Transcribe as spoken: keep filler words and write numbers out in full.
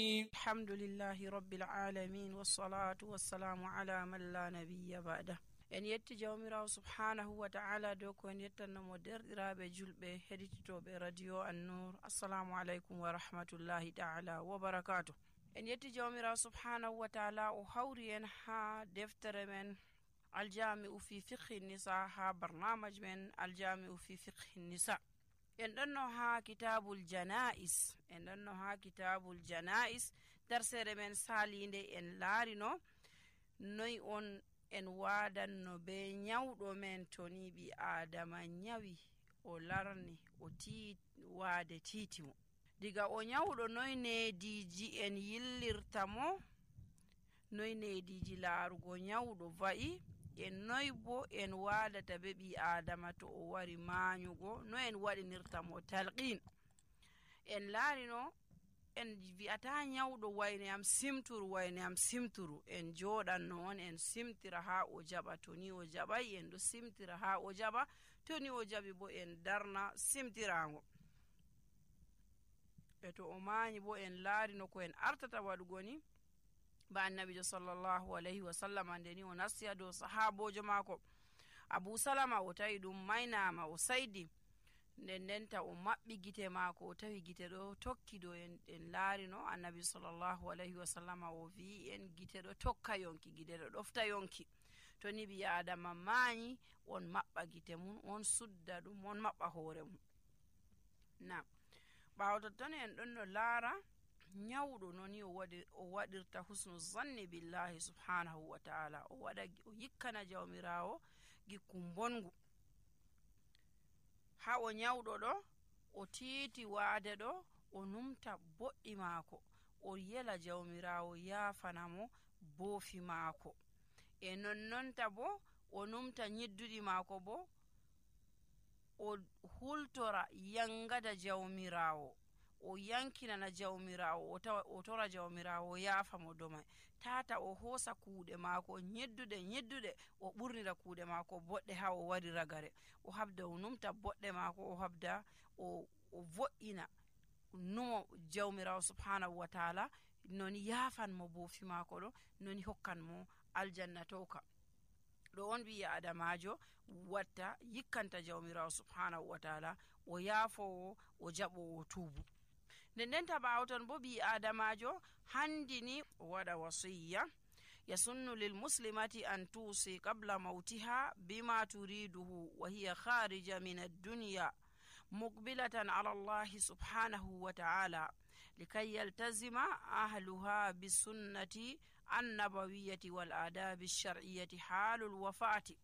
alhamdulillahi rabbil alamin wassalatu wassalamu ala man la nabiyya ba'da. En yetti jawmirawo subhanahu wa ta'ala dow ko en yettannomo derɗiraɓe julɓe heɗititoɓe radio An-Nur. Assalamu aleykum wa rahmatullahi ta'ala wa barakatuh. En yetti jawmirawo subhanahu wa ta'ala o hawri en ha deftere men aljami'u fi fiqhi nisa, ha barnamaj men aljami'u fi fiqhi nisa. En ɗonno ha kitabul jana'is en ɗonno ha kitabul jana'is darsere men salinde en laarino noy on en wadanno be nyawɗo men to ni ɓi adama nyawi o larni o tii waade titimo. Diga o nyawɗo noy neediji en yillirta mo, noy neediji laarugo nyawɗo va'i, en noy bo en waadata be ɓi adama to o wari maanyugo, no en waɗinirta mo talqin. En laarino en wi'ata nyawɗo wayne am simturu wayne am simturu, en joɗanno on en simtira ha o jaɓa, to ni o jaɓay en ɗo simtira ha o jaɓa, to ni o jaɓi bo en darna simtirango. e to o maanyi bo en laarino ko en artata waɗugo ni ba annabijo sallallahu alayhi wa sallam ande ni o nasiya dow sahabojo maako Abu Salama, o tawi ɗum maynama o saydi, nden ndenta o maɓɓi gite maako o tawi gite ɗo tokki dow en, en laarino annabi sallallahu alayhi wa sallam o wi en gite ɗo tokka yonki, gite ɗo ɗofta yonki. to ni ɓi adama maanyi on maɓɓa gite mum, on sudda ɗum, on maɓɓa hoore mum. na ɓaawo totton en ɗon no laara nyawɗo noni o waɗi o waɗirta husnu zanni billahi subhanahu wa ta'ala, o waɗa o yikkana jawmirawo gikku bongu. ha o nyawɗo ɗo o tiiti waade ɗo o numta boɗɗi maako, o yela jawmirawo yaafanamo boofi maako, e nonnonta bo o numta nyidduɗi maako bo o hultora yangada jawmirawo, o yankinana jawmirawo, o tora jawmirawo yaafamo domai, tata o hoosa kuuɗe maako nyedduɗe nyedduɗe o ɓurnira kuuɗe maako boɗɗe ha o wari ragare, o habda o numta boɗɗe maako, o habda o, o vo'ina numo jawmirawo subhanahu wa ta'ala noni yaafanmo boofi maako ɗo, noni hokkanmo aljanna toka. ɗo on ɓi adamajo watta yikkanta jawmirawo subhanahu wa ta'ala, o yaafowo o jaɓowo tuubu. nden ndenta ɓaawo ton bo ɓi adamajo handini o waɗa wasiyya yasunnu lil muslimati an tusi qabla mautiha bima turiduhu wa hiya kharija min ad-dunya muqbilatan ala allahi subhanahu wa ta'ala likay yaltazima ahluha bisunnati annabawiyyati wal adabi ash-shar'iyyati halul wafati